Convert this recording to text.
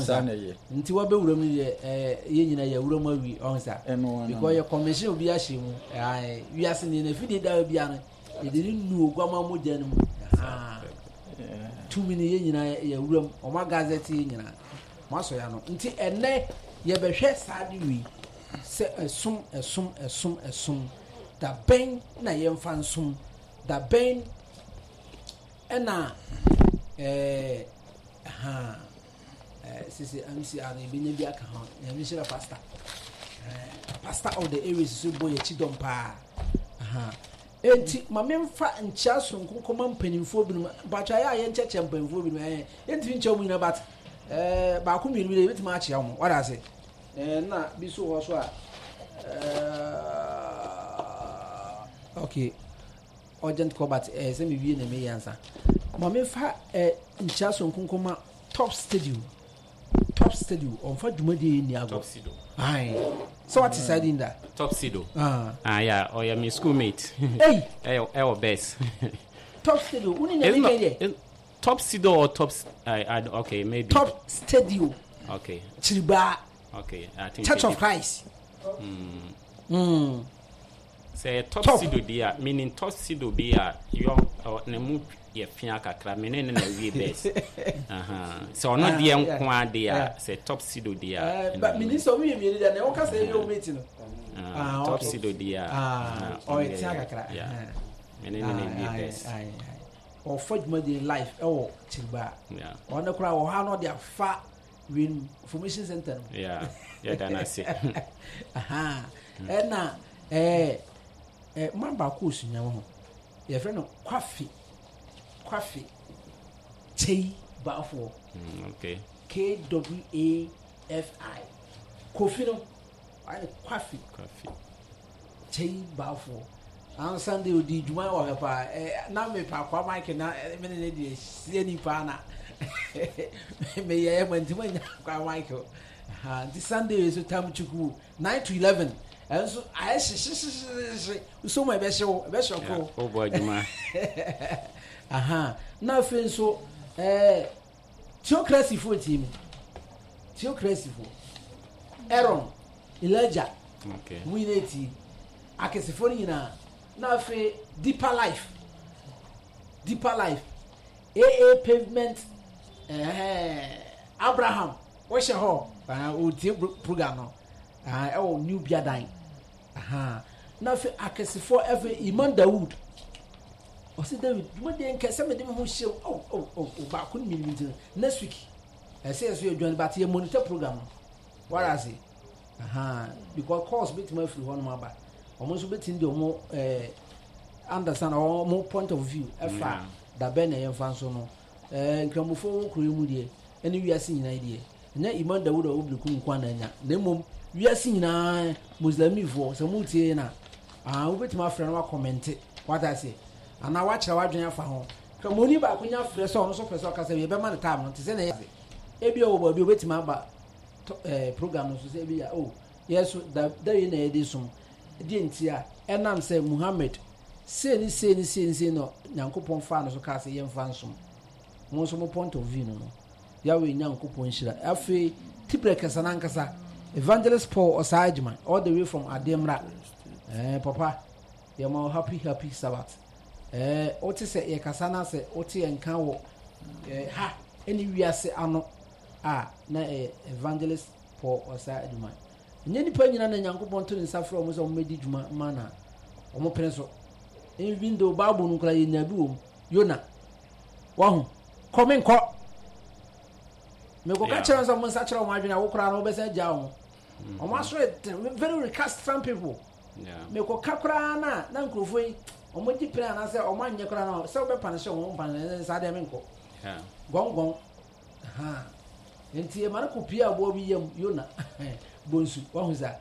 Saa nti wabɛwura mu deɛ ɛɛ yɛn nyinaa yɛwura mu awie ɔho sa because yɛ commission obi ahyɛ mu ɛɛ wiase ne na fidie da bi ano yɛde ne nu oguama mogya no mu tumi no yɛn nyinaa yɛwura mu wɔn agazɛte yɛn nyinaa wɔn asɔ yɛn ano nti ɛnɛ yɛbɛhwɛ saa de wei sɛ ɛsom ɛsom ɛsom ɛsom dabɛn na yɛmfa nsom dabɛn ɛna ɛɛ ha ɛɛ sisi mcr no yɛbɛnya bi aka ho. Nyame nhyira pastor. Ɛɛ pastor of the areas so bɔ yɛkyi dɔm paa. Aha. Enti ma memfa nkyia soronko kɔma mpanimfoɔ binom. Mpakyɛ ayɛ a yɛnkyɛkyɛ mpanimfoɔ binom. Ɛɛ yɛntumi nkyɛ wɔn nyinaa but ɛɛ baako mmienu bi de yɛbɛtumi akyea wɔn. Wada ase. Ɛɛ na bi so hɔ so a ɛɛ okay. Urgent call but ɛɛ sɛ mewie na meyɛ ansa. Ma memfa ɛɛ nkyia soronko nkɔma Top Studio. Top Studio ɔnfa dwumadie yi nni agorɔ. Top Sido. Ae. Sɛ wate saa din da? Top Sido. Ah, ah yeah, ɔyɛ me school mate. Ei. Ɛwɔ ɛwɔ best. Top Studio, wo ne na mi kɛn deɛ? Top Sido or Top I, I, okay, maybe. Top Studio. Okay. Kyiribaa. Okay, I think. Church of Christ. Mm. Mm. Sɛ ɛyɛ top sido deɛ a, menim top sido bi a yɔ ɔ ne mu yɛ fea kakra, me ne no na ɛwie best. Ahaa. Sɛ ɔno Ah, deɛ yeah, nko ara deɛ a, yeah. sɛ top sido deɛ a, Eh, ɛna but me menim sɛ ɔmo yɛ mmienu deɛ, na ɛwɔ kasa ɛyɛ ɔmo mate no. Ah, Ah, top okay. sido deɛ a, Ah, aha, ɔno ɔyɛ deɛ tea yɛ, kakra. yeah. Ah, Me ne no na ah, ɛwie aye, best. aye, aye. Ɔfa dwumadie live ɛwɔ Kyiribaa. Yeah. Ɔno koraa wɔ hɔ a na ɔde afa wei no information center no. Yeah, yɛda no ase. Aha. Ɛna ɛɛ ɛ man baako osunya ho. Yɛfrɛ no Kwafi. Kwafi Kyei Baafoɔ. Okay. K W A F I. Kofi no. Wayɛ no Kwafi. Kwafi. Kyei Baafoɔ. An Sunday odi dwuma wɔ hɛ paa. Ɛ na me pa kwa Mike na me ne ne deɛ sie ni paa na. Me yɛ ma ntoma nya kwa Mike. Ha nti Sunday so tam chuku 9 to 11. Ɛnso ayɛ hyehyehyehyehye. So ma ɛbɛhye wo, ɛbɛhyɛ ɔkoro. Wobɔ adwuma. Aha. Na afei nso ɛɛ theocracy fo tie mi. Theocracy fo. Aaron, Elijah. Okay. Mu nyinaa tie. Akɛsefoɔ no nyinaa. Na afei Deeper Life. Deeper Life. AA Pavement. Ɛɛ Abraham. Wɔhyɛ hɔ. Ɔtie program no. Ɛwɔ New Biadan. Na afei akɛsefoɔ afei Iman Dawood. Ɔsi David dwumadie nkɛ sɛ mede me ho hyɛ mu. Oh oh oh oh baako ne mmienu nti no. Next week. Ɛsɛ yɛ so yɛ join but yɛ monitor program no. Wara ase. Ahaa because calls betumi afiri hɔnom aba. Wɔn nso betumi de wɔn ɛɛ understand wɔn point of view ɛfa dabɛn na yɛmfa nso no. Ɛɛ nkramofoɔ wɔ kuro yi mu deɛ ɛne wiase nyinaa deɛ ɛnyɛ Imam Dawud a ɔwɔ Berekum nko na anya na mmom wiase nyinaa Muslimifoɔ sɛ mo tie na ah wobɛtumi afrɛ no wakɔmɛnte wata aseɛ anaa wakyerɛ wadwene afa ho. Kramoni baako nya frɛ sɛ ɔno nso pɛ sɛ ɔkasa bi yɛbɛma no time no te sɛ na ɛyɛ ebi ɔwɔ baabi obɛtumi aba eh, program no so sɛ ebi ya oh yɛ so da da yi na yɛde som deɛ ntia ɛnam sɛ Muhammad sei ne sei ne sei ne sei na Nyankopɔn faa no so kaa sɛ yɛmfa nsom mo nso mo point of view no no Yahweh Nyankopɔn nhyira afei tibrɛ kɛsɛ n'ankasa Evangelist Paul Ɔsaa Adwuma all the way from Ademra eh, papa yɛma wo happy happy Sabbath eh, wote sɛ yɛkasa no sɛ wote yɛn nka wɔ eh, ha ɛne wiase ano a na ɛyɛ Evangelist Paul Osei Agyemang. Ɛnyɛ nnipa nyinaa na Nyankopɔn to ne nsa frɛ wɔn sɛ wɔmmɛdi dwuma ma na wɔn pene so. Even though Bible no koraa yɛnya bi wɔ mu. Yona, wahu, kɔ menkɔ. Mekɔka kyerɛ sɛ wɔn nsa kyerɛ wɔn adwene a wo koraa no wobɛsan agyaa wɔn. Wɔn aso yɛ den, very recalcitrant people. Mekɔka koraa na na nkurɔfoɔ yi wɔn gye pene anaasɛ wɔn anyɛ koraa no sɛ wobɛpa no hyɛ wɔn mpa no saa deɛ menkɔ. Gɔngɔn. Ahaa. Enti ɛma no kɔpue aboa bi yam, Yona, bonsu. Wahu saa?